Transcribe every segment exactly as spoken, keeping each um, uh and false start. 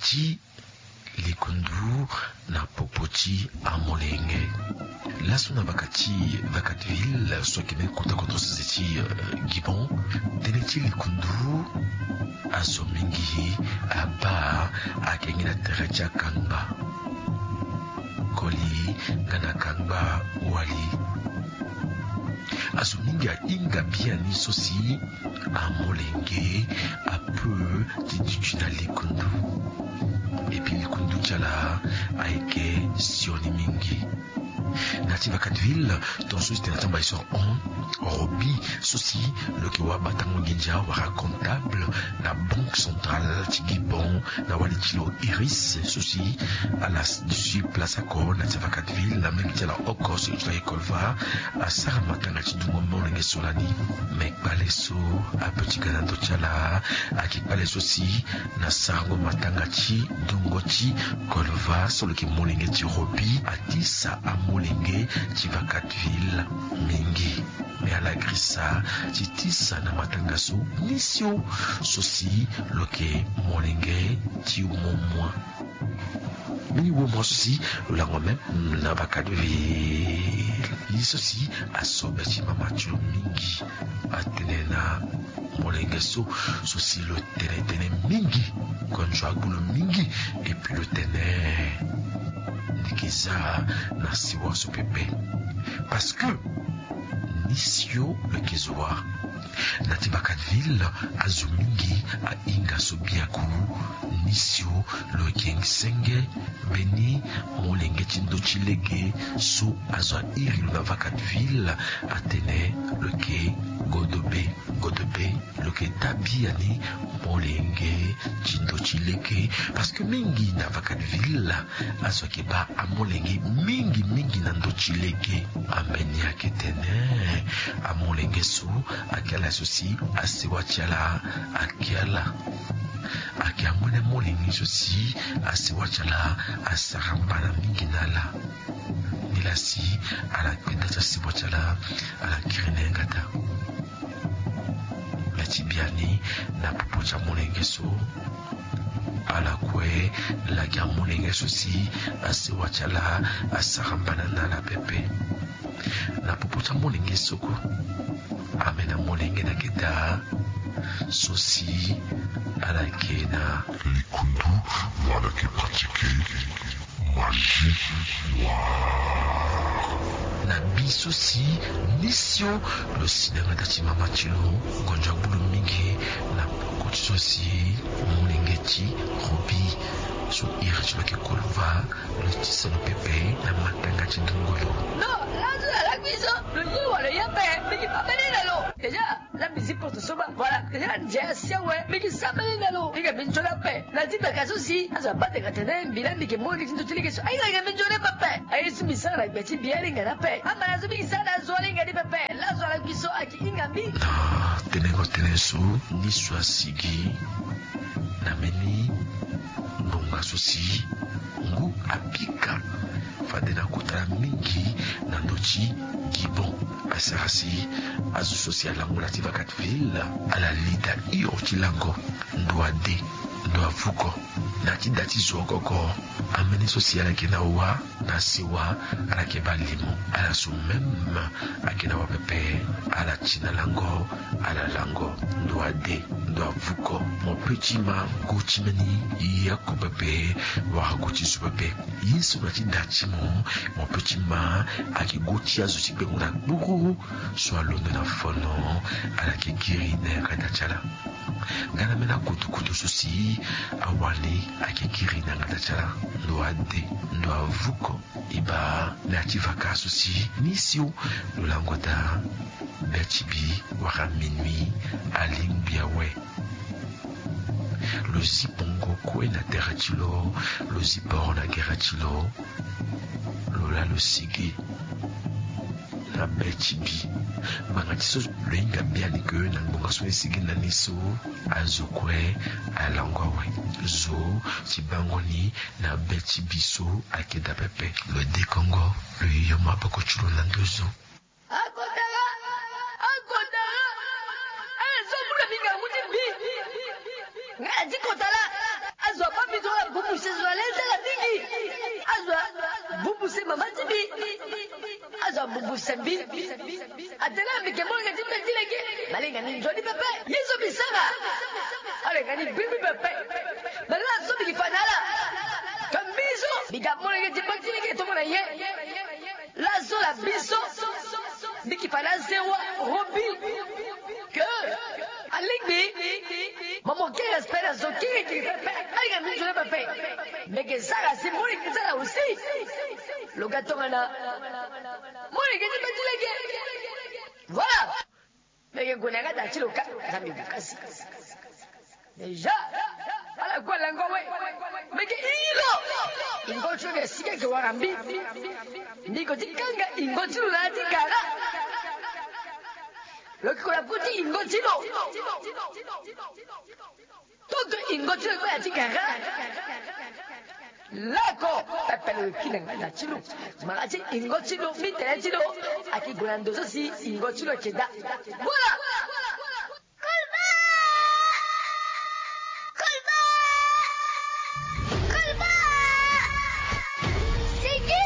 ti likundu na popo ti amolenge. Laso na vaka ti Vacaville so ayeke mbeni kota kodro sese ti Gibon, tënë ti likundu azo mingi abaa ayeke gi na tere ti akangba koli nga na kangba wali. Azo mingi ahinga biani so si amolenge ape ti duti na likundu. Epi likundu ti ala ayeke sioni mingi. Na ti Vacaville, ton so ti tene na tamba histoire hon, Robi so si lo yeke wabatango nginza wala comptable na Banque Centrale ti Gibon, na wali ti lo Iris so si ala duti place oko na ti Vacaville, na mbage ti ala oko so e ti lo ayeke Colva, asara matanga ti dungo molenge so lani. Me kpale so ape ti ga na ndo ti ala ayeke kpale so si na sarango matanga ti dungo ti Colva so lo yeke molenge ti Robi atisa amolenge ti Vacaville mingi. Me ala girisa ti tisa na matanga so ni sio so si lo yeke molenge ti womua. Mbeni womua so si lo lango même na Vacaville, ye so si asobe ti mama ti lo mingi. Atene na molenge so so si lo tene tënë mingi, gondzo agbu lo mingi. Epi lo tene ndiki za na siwa so pepe. Parce que ni sio lo yeke zo wa. Na ti Vacaville, azo mingi ahinga so biaku. Ni sio lo yeke senge mbeni molenge ti ndo ti lege so azo airi lo na Vacaville, atene lo yeke Godobe. Godobe, lo yeke daa biani molenge ti ndo ti lege. Parce que mingi na Vacaville, azo ayeke baa amolenge mingi mingi na ndo ti lege. Ambeni ayeke tene amolenge so ayeke ala so si asewa ti ala ayeke ala. Ayeke amolenge so si asewa ti ala asara mbana mingi na ala. Nilaa si ala kpe nda ti asewa ti ala, ala kiri na yanga daa. Me ti biani na popo ti amolenge so, ala kue laki amolenge so si asewa ti ala asara mbana na ala pepe. Na popo ti amolenge so kue, ambeni amolenge na yanga daa so si ala yeke na likundu, wala ala yeke pratike magie noire. Na bi so si ni sio lo si na yanga daa ti mama ti lo, gondzo agbu lo mingi na peko ti so si molenge ti Robi so iri ti lo yeke Colva, lo tisa lo pepe na matanga ti ndongolo. Non, laso na lakui so lo ye wala lo ye ape, mingi pa mbeni na lo. Déjà, la musique porte so baa. Voilà, déjà ndia si awe, mingi sambela na lo. Mingi minzoni ape. Na ti baka so si azo abaa tene atene mbi laa mbi yeke molenge ti ndo ti lege so. Aye, aye, minzoni ape ape. Aye so mbi sara na gbe ti mbi alingani ape. Ambala so mingi sara na azo alingani pepe. Laso na lakui so ayeke hinga mbi. Na tenengo tënë so ni so asigi na mbeni ngonga so si ngu apika fade na kota mingi na ndo ti Gibon. Asara si azo so si alango na ti Vacaville ala li daa hio ti lango ndo ade, ndo avuko. Na ti da ti zo oko oko, ambeni so si ala yeke na wa na sewa, ala yeke baa limo. Ala so même ayeke na wa pepe, ala ti na lango, ala lango ndo ade, ndo avuko. Mo pe ti ma go ti mbeni ye oko pepe, wala go ti zo pepe. Ye so na ti da ti mo, mo pe ti ma ayeke go ti azo ti gbengo na kpuru so alondo na fono, ala yeke kiri na yanga da ti ala. Nga na mbeni akotokoto so si awali ayeke kiri na yanga da ti ala, ndo ade, ndo avuko. E baa na ya ti vaka so si ni sio lo lango daa be ti bi wala minuit alingbi awe. Lo zi bongo kue na tere ti lo, lo zi boro na gere ti lo, lo laa lo sigi na be ti bi. Ngbanga ti so lo hinga biani ke na ngbonga so ni sigi na ni so, azo kue alango awe. Zo ti bango ni na be ti bi so ayeke daa pepe. Lo dekongo, lo yo maboko ti lo na ndo zo. Akotara! Akotara! Eh, zo kula mingangu ti mbi. Nga ya ti kotara. Azo abaa mbi zo na Abubu se zo na le nzala mingi. Azo abubu se mama ti mbi. Azo abubu se mbi. Atene mbi ke molenge ti mbi ti lege. Malenga ni nzoni pepe. Ye so mbi sara, alenga ni bimbi pepe. Malenga so mbi ke fa na ala. Ka mbi so mbi ga molenge ti mbi ti lege tongo na ye. Laso la biso. Mbi ke fa na azewa Robi. Ke alingbi. Mo mo ke respect na zo kiri kiri pepe. Alinga mbi nzoni pepe. Mbi ke sara si molenge ti ala aussi. Lo ga tongana molenge ti mbi ti lege. Voilà. Mbi ke gue na yanga da ti lo ka. Nzambe gue kasi. Déjà ala kue alango awe. Mbi ke iri lo. Ingo ti lo ke si ke wara mbi. Mbi ko ti kanga ingo ti lo na ya ti kara. Lo ke ko na kue ti ingo ti lo. Toto ingo ti lo kue ya ti kara. Lako pepe lo ki na nganda ti lo. Mara ti ingo ti lo, mbi tene ti lo. Ayeke gue na ndo so si ingo ti lo ayeke daa. Voilà. Kolba! Kolba! Kolba! Sigi!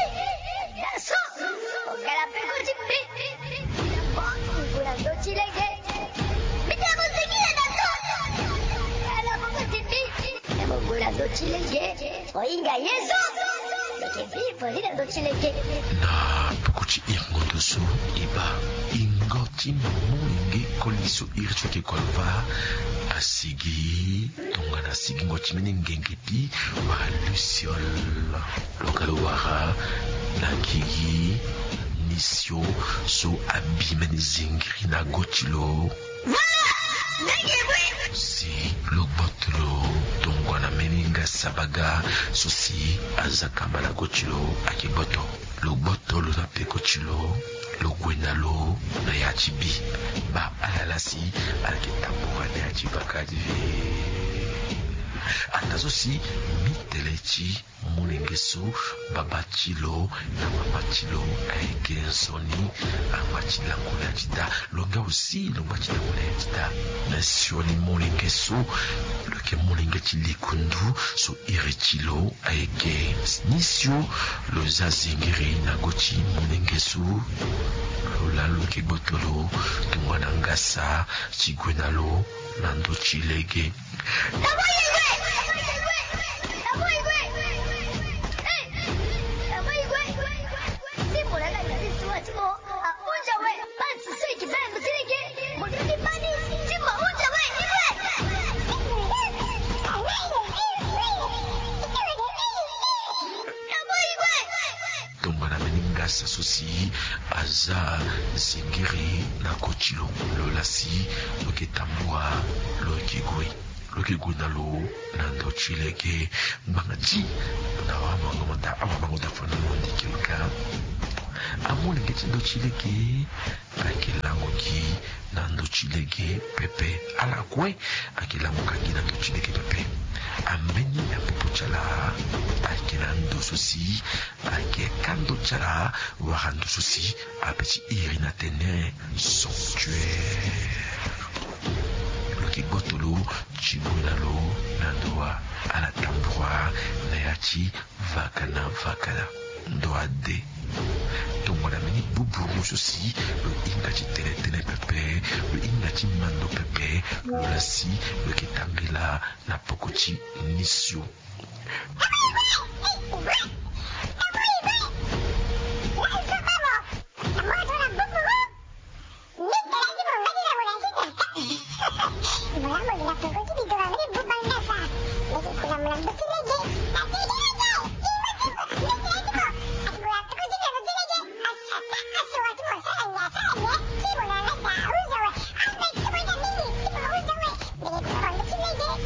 Laso! Ogala peko ti mbi. Ina mo gue na ndo ti lege. Mbi tene mo sigi na laso. Ala peko ti mbi. Ina mo gue na ndo ti lege. Ohinga ye so. Mbi ke vivo li na ndo ti lege. Na peko ti iri ngondu so e baa ingo ti molenge koli so iri ti lo ke Kolba asigi tongana sigingo ti mbeni ngenge ti wara luciole. Lo ga lo wara na gigi ni sio so abi mbeni zingiri na go ti lo. Si lo gboto lo tongana mbeni ngasa baga so si aza kamba na go ti lo ayeke gboto. Lo gboto lo na peko ti lo, lo gue na lo na ya ti bi. Baa ala laa si ala yeke tambura na ya ti vaka ti ve. Ata so si mbi tene ti molenge so baba ti lo na mama ti lo ayeke nzoni, ama ti lango na ya ti daa. Lo nga aussi lo ngba ti lango na ya ti daa. Na sioni molenge so lo yeke molenge ti likundu so iri ti lo ayeke ni sio. Lo za zingiri na go ti molenge so. Lo laa lo yeke gboto lo tongana ngasa ti gue na lo na ndo ti lege. Tongana mbeni ngasa so si aza zingiri na koti lo, lo laa si lo yeke tambua, lo yeke gue. Lo yeke gue na lo na ndo ti lege. Ngbanga ti na awamango mo daa, awamango daa fana mo ndiki lo ka. Amolenge ti ndo ti lege ayeke lango gi na ndo ti lege pepe. Ala kue ayeke lango ka gi na ndo ti lege pepe. Ambeni na popo ti ala ayeke na ndo so si ayeke ka ndo ti ala wala ndo so si ape ti iri na tene sanctuaire. Lo yeke gboto lo ti gue na lo na ndo wa ala tambua na ya ti vakana vakana. Ndo ade. Tongana mbeni buburu so si lo hinga ti tene tene pepe, lo hinga ti mando pepe, lo laa si lo yeke tambela na poko ti ni sio.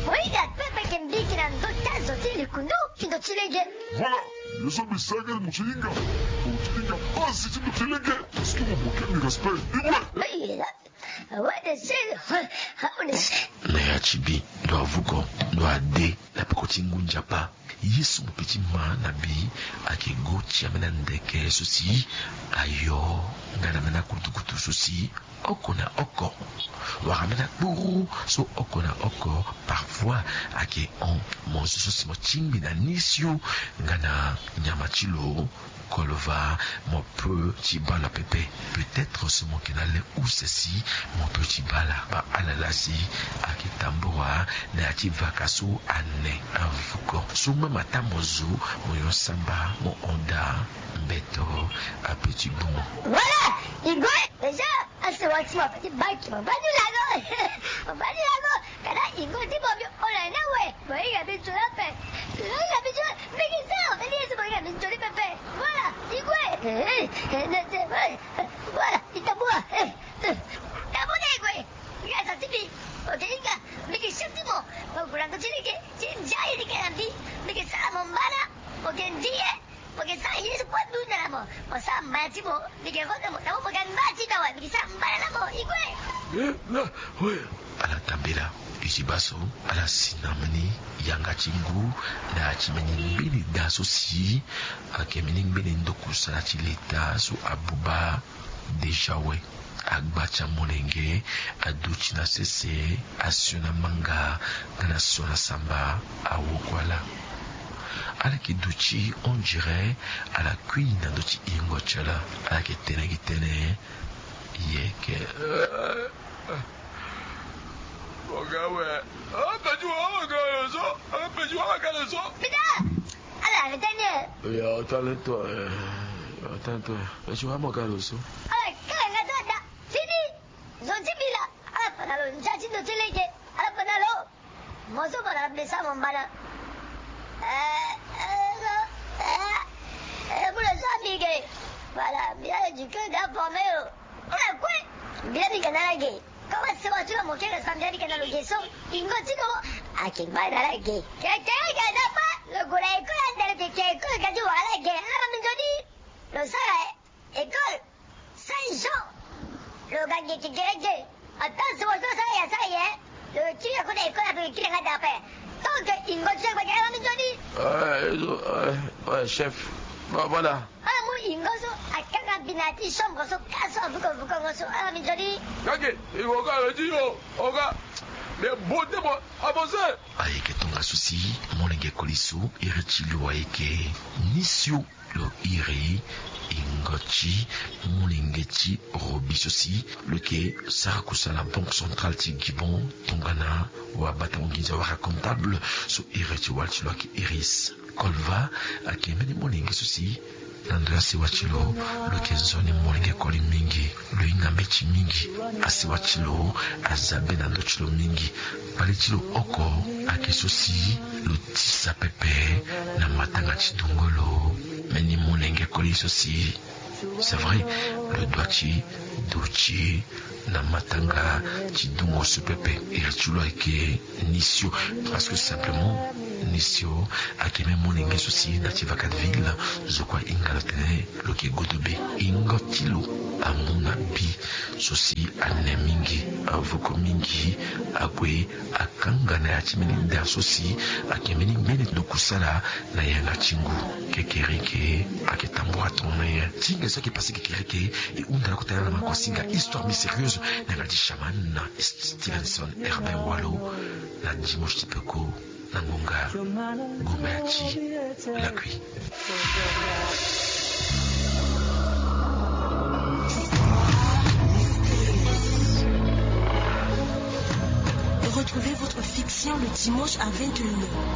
Oyiga pepe ke mbiki na ndo ti azo ti likundu ti ndo ti lege. Voilà, ye so mbi sara nga mo ti hinga. Mo ti hinga base ti ndo ti lege. Parce que mo manque ni respect. Igwe. Awe de se. Awe de se. Na ya ti bi ndo avuko ndo ade. na peko ti ngu nzapa. Ye so mo pe ti ma na bi ayeke go ti ambeni andeke so si ayo nga na ambeni akutukutu so si oko na oko, wala ambeni akpuru so oko na oko. Parfois ayeke hon mo zo so si mo tingbi na ni sio nga na nyama ti lo. Kolova, mo pe ti bala pepe. Peut-être so mo yeke na le use si mo pe ti bala. Ba ala laa si ayeke tambura na ya ti vaka so ane avuko so même ata mo zo mo yo samba mo honda mbeto ape ti bu mo. Voilà, Igwe, déjà, asewa ti mo ape ti baki mo bani lago. Mo bani lago. Kana Igwe ti mo bi ola na we. Mo hinga bi nzoni ape. Mo hinga bi nzoni. Mbege sa, mo bani yesu mo hinga bi nzoni pepe. Voilà, Igwe. Eh, eh, ne, ne, eh, voilà, i tambura. Eh, eh, tambura Igwe. Hinga sa ti bi. Oke hinga. Mbege sa ti mo. Mo gula ndo ti lege. Ti ndia ye ti ke na mbi. Mbege sa mo mbana. Oke ndi ye. Mo yeke sara ye so kue dunda na mo. Mo sara mbana ti mo. Mi yeke vo na mo na mo mo ga ngba ti na wa mi yeke sara mbana na mo Igwe. Eh, na, we. Ala tambela. E ti baa so ala si na mbeni yanga ti ngu na ya ti mbeni ngbeni da so si ayeke mbeni ngbeni ndokusala ti leta so abuba. Déjà we. Agba ti amolenge aduti na sese, asio na manga nga na sio na samba. Awokua laa ala yeke duti on dirait ala kui na ndö ti hingo ti ala. Ala yeke tene gi tënë. Yeke mo ga awe. Ape ti wa wa ga lo so. Ape ti wa wa ga lo so. Pita. Ala arrêter ni. Ya, attends toi. Attends toi. Ape ti wa mo ga lo so. Ala kanga nga to da. Fini. Zo ti bila. Ala fa na lo ndia ti ndo ti lege. Ala fa na lo. Mo so mo na besa mo mbana. Eh, eh, eh, eh, mo lo so amige. Voilà, bien éduqué, bien formé. Ala kue. Bien mi ga na la ge. Koma sewa ti lo mo kere sambia ni ke na lo ge so. Ingo ti lo. Ake ngba na la ge. Kekere ga na pa. Lo gue na école ande lo kekere école ga ti wara la ge. Ala minzoni. Lo sara école. Saint Jean. Lo ga ge kekere ge. Ata sewa ti lo sara ya sara ye. Lo kiri ya kota école ape lo kiri nga dape. Donc ingo ti lo gba ge ala minzoni. Ouais, chef. Voilà. Ala mu ingo so akanga bina ti chambre so ka so avuko vuko ngo so ala minzoni. Kake ingo ka lo ti yo. Oka. Mais bon te mo avancer. Ayeke tongaso si molenge koli so iri ti lo ayeke ni sio. Lo iri ingo ti molenge ti robi so si lo yeke sara kusala na banque centrale ti gibon. Tongana wabata mo nginza wara comptable so iri ti wali ti lo ayeke iris. Kolva ayeke mbeni molenge so si na ndo ya sewa ti lo. Lo yeke nzoni molenge koli mingi. Lo hinga mbeti mingi. Asewa ti lo aza be na ndo ti lo mingi. Bale ti lo oko ayeke so si lo tisa pepe na matanga ti dungo lo. Mbeni molenge koli so si c'est vrai lo dua ti duti na matanga ti dungo so pepe. Iri ti lo ayeke ni sio. Parce que simplement ni sio ayeke même molenge so si na ti vacadeville zo kue ahinga lo tene lo yeke godo be. Ingo ti lo amu na bi so si ane mingi avoko mingi. Ague akanga na ya ti mbeni da so si ayeke mbeni ngbene ndokusala na yanga ti ngu. Kekereke ayeke tambura tongana na ye ti nge so ayeke pase kekereke. E hunda na kota yanga na makosinga histoire mystérieuse na yanga ti chaman na stevenson herbin walo na dimanche ti peko. Na ngonga gomba ya ti lakui. Retrouvez votre fiction le dimanche à vingt et une heures.